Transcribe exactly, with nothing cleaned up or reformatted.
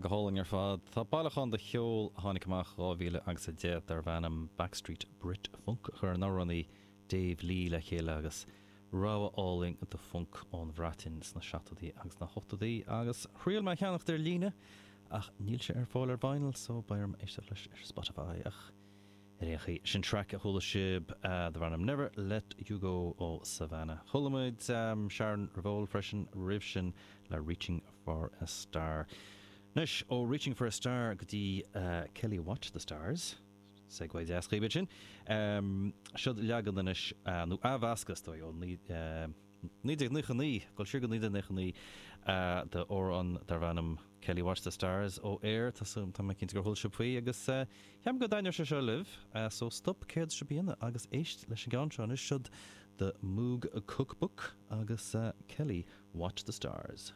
Go hálainn ar fad Tá bailiúchán de cheol a tháinig amach dhá mhíle agus a deich darb ainm Backstreet Brit Funk a chuir an t-amhránaí Dave Lee le chéile agus rogha álainn de funk ón Bhreatain sna seachtóidí agus na hochtóidí agus thriail mé ceannacht ar líne ach níl sé ar fáil ar vinyl so beidh orm éisteacht leis ar Spotify ach ar aon chaoi sin track a chuala sibh darb ainm Never Let You Go ó Savannah. Chuala muid um, Sharon Revol freisin roimh sin le Reaching for a Star. Anois ó Reaching for a Star go dtí uh, Kelly Watch the Stars. Segue deas chuige sin. Um, Siod leagan anois uh, nó athmheascadh ó naoi déag nócha naoi, go siar go naoi déag nócha naoi d'amhrán darb ainm Kelly Watch the Stars ó Air tá tá cinnte gur chuala sibh faoi agus uh, ceapaim go dtaitneoidh sé seo libh, uh, so stop céard sibh a dhéanamh agus éist leis an gceann seo anois siod The Moog Cookbook agus uh, Kelly Watch the Stars.